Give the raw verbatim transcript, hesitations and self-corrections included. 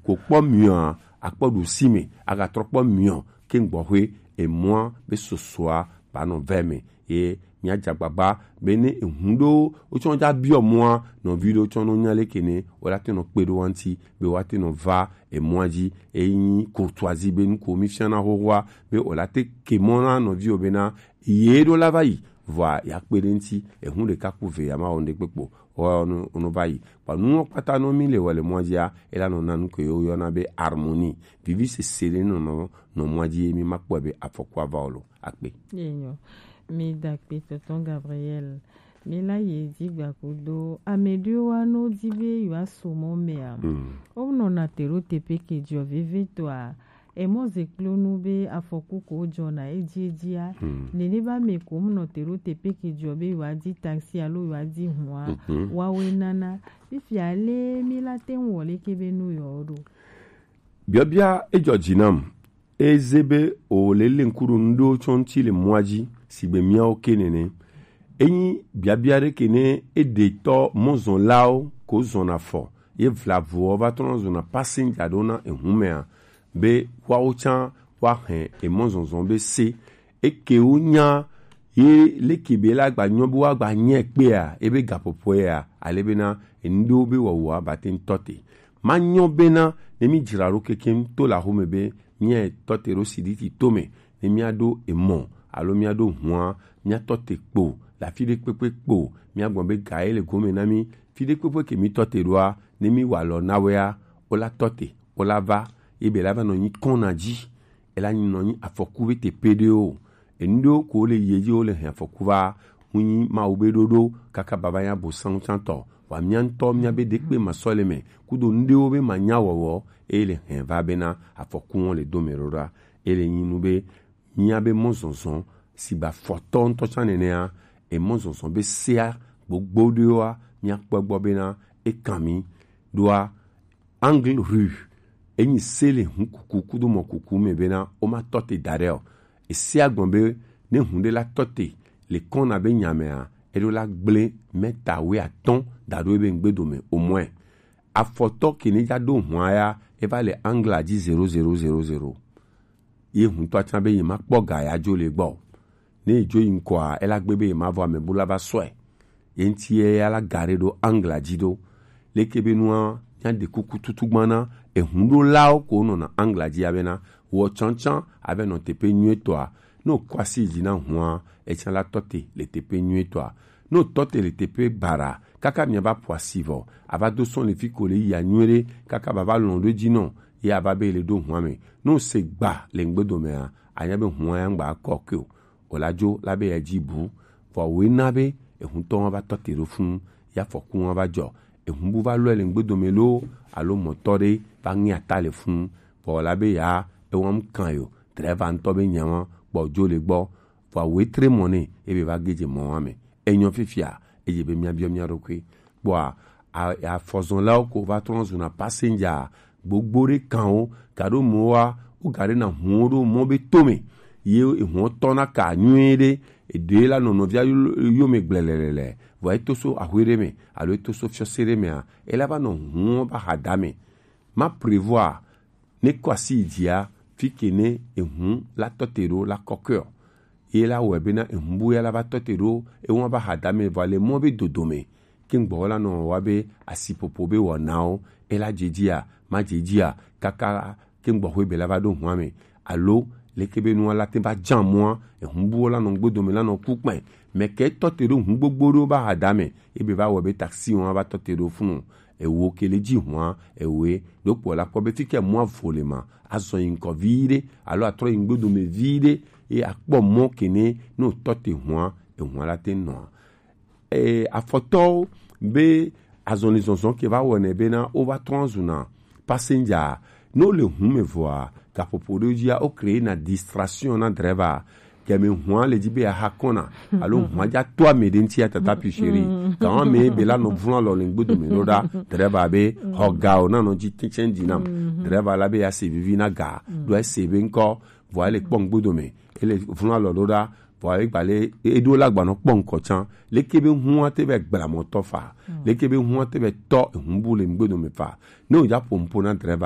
ko kpɔ miɔ a, akpɔ ɖusi me, agatrɔ kpɔ miɔ ke gbɔxwe emɔa be sosoa ba nɔ vɛ me. Ye mia dza gbagba be ne ehun ɖo wotsɔ dza biɔ mɔa, nɔvi ɖo tsɔ no nya leke ne o la te nɔ kpe ɖo wa ŋuti be wa te nɔ va emɔa dzi. Eyi nyi courtoisie be nu ko mi fiana xoxoa be o la te ke mɔ na nɔvi o be na ye ɖo la va yi, vɔa ya kpe ɖe ŋuti, ehun ɖeka ku ve ya ma wɔ ŋɖe kpekpe o, wɔ no no va yi. Kpa nuwo kpata no mi le wɔ le mɔa dzia, e la nɔ na nu ke yo yɔna be harmonie, vivi sese ɖe nɔ nɔ nɔ mɔa dzi ye mi ma kpɔe be afɔku ava o lo. Akpe. Enyo. Mi da akpe tonton Gabriel. Mi la ye di gba kudo. Ame ɖewo wa no di be yewoa so mɔ mea. Mm. Wo nɔ na te ɖo teƒe ke dzɔ vevitɔa. Emɔ ze kplo nu be afɔku ko dzɔna edzi edzia. Mm. Nene ba me ko mu nɔ te ɖo teƒe ke dzɔ be yewoa di taxi alo yewoa di hua. Mhm. Wa we nana. Fifia le mi la te ŋu wɔ leke be nu yewo ɖo. Biabia edzɔ dzi nam. Eze be o le le ŋku ɖo nu ɖewo tsɔ ŋuti le mɔa dzi, sigbe miawo ke nene. Enyi biabia ɖe ke ne eɖetɔ mɔzɔnlawo ko zɔna fɔ, ye vlavoɔ va trɔna zɔna passenger ɖo na ehun mea, be woawo tsã woahe emɔzɔzɔ be se. Ekewo nya ye leke be la gba nyɔ be woagba nyɛ kpea, ebe gaƒoƒoe ya, ale bena enu ɖewo be wɔwɔa ba te ŋutɔ te. Manyɔ bena ne mi dzra ɖo kekeŋ to le axome be míatɔ te ɖo siɖiɖi tome, ne míaɖo emɔ alo míaɖo hua, míatɔ te kpo le afi ɖe kpekpe kpo, míagbɔ be ga ye le gome na mí, fi ɖe kpekpe ke mítɔ te ɖoa, ne míwa alɔ na wea, wola tɔ te, wola va, ye be la va nɔ nyi kɔna dzi, ela nyi nɔ nyi afɔku be te pe ɖe o. Enu ɖewo ko le yie dzi wo le hɛn afɔku va, ŋu nyi Mawu be ɖoɖo kaka baba nya bo sanutantɔ. Wa mía ŋutɔ mía be ɖekpe ma sɔ le mɛ, kudo nu ɖewo be ma nya wɔwɔ, eye le hɛn va bena afɔku wɔn le do mɛ ɖoɖa. Ele nyi nu be mía be mɔzɔzɔ si ba fɔtɔ ŋutɔ tsã nenea, emɔzɔzɔ be sea gbogbo ɖewoa, mía kpɔ gbɔ bena ekan mi ɖoa, Angle rue, enyi se le hun kuku kudo mɔ kuku me bena wo ma tɔ te da ɖe o. Ese agbɔn be ne hun ɖe la tɔ te le kɔna be nya mea, eɖo la gble mɛta wuiatɔ̃ da ɖo ebe ŋgbedo me au moins. Afɔtɔ ke ne dza ɖo hua ya, eva le angle dzi zero zero zero zero. Ye huntɔ atsã be ye ma kpɔ ga ya dzo le gbɔ. Ne ye dzo yi ŋkɔa, ela gbe be ye ma vɔ ame bu la va sɔe. Ye ŋuti ye ya la ga ɖe ɖo angle dzi ɖo. Leke be nua, mía ɖe kuku tutu gbana, ehun ɖo lawo ko nɔna angle dzi abena, wɔ tsantsan, ave nɔ teƒe nyuietɔa. Ne wòkɔ asi dzi na hua, etsã la tɔ te le teƒe nyuietɔa. Ne wòtɔ te le teƒe baɖa, kaka miava ƒo asi vɔ, ava do sɔn le fi ko le yia nyuie ɖe, kaka bava lɔn ɖo dzi nɔ, ye ava be le ɖo hua me. Ne wòse gba le ŋgbedomea, anya be hua ya ŋgba kɔ ke o. Wòla dzo la be ya dzi bu, vɔ wòe na be ehuntɔ wa va tɔ te ɖo funu, ya fɔku wa va dzɔ. Ehun bu va lɔe le ŋgbedome loo, alo mɔtɔ ɖe va ŋe ata le funu, vɔ wòla be ya ewɔm kan yo, drɛva ŋutɔ be nya wa kpɔ dzo le gbɔ, vɔ wòe tre mɔ ne ebe va ge dze mɔ wa me. Enyɔ fifia, edze be mía biɔ mía ɖokui. Kpɔa, a-, afɔzɔlawo ko va trɔ zuna passenger gbogbo ɖe kan wo, gaɖo mɔ wa, wo gaɖe na hun wo ɖo mɔ be tome. Ye ehun tɔ na ka nyuie ɖe, eɖe la nɔ nɔvia yo-, yome gblelelele. Vɔ eto so axwe ɖe me, alo eto so fiɔse ɖe mea, ela va nɔ hun wo va ha da me. Ma prévoir ne kɔ asi yi dzia, fi ke ne ehun la tɔ te ɖo la kɔkɔe o. Ye la wɔe bena ehun bu ya la va tɔ te ɖo, ewa va ha da me vɔ le mɔ be dodo me. Ke ŋgbɔ la nɔ wa be asiƒoƒo be wɔnawo, ela dze dzia, ma dze dzia, kaka ke ŋgbɔ xwe be la va ɖo hua me. Alo, leke be nua la te va dza mɔa, ehun bu la nɔ ŋgbodome la nɔ ku kpɛ. Mɛ ke tɔ te ɖo hun gbogbo ɖo va ha da me, ebe va wɔ be taxi wa va tɔ te ɖo funu. Ewo ke le dzi hua, ewoe, ɖo kpɔ la kpɔ be fi ke mɔa vo le ma, azɔ yi ŋkɔ vi ɖe, alo atrɔ yi ŋgbodome vi ɖe, ye akpɔ mɔ ke ne, ne wotɔ te hua, ehua la te nɔa. E, afɔtɔwo be azɔlizɔzɔ ke va wɔnɛ bena wo va trɔ zuna passenger. Ne wole hun me vɔa, gaƒoƒo ɖewo dzia, wo créer na distraction na driver. Kɛmi hua le dzi be aha kɔna, alo hua dza to ame ɖe ŋuti ya tata pi chéri. Gawa me be la nɔ vlɔ alɔ le ŋgbodome ɖo ɖa. Driver be xɔ ga o na nɔ dzi tɛtsɛn dzi nam. Driver la be ya se vivi na ga. Ɖo ese be ŋkɔ, vɔ ele kpɔ ŋgbodome. Ele vlɔ alɔ ɖo ɖa. Vɔ egba le, eɖo la gba nɔ kpɔ ŋkɔ tsã. Leke be hua te be gbla mɔtɔ fa. Leke be hua te be tɔ ehun bu le ŋgbodome fa. Ne wodza ƒo nuƒo na driver,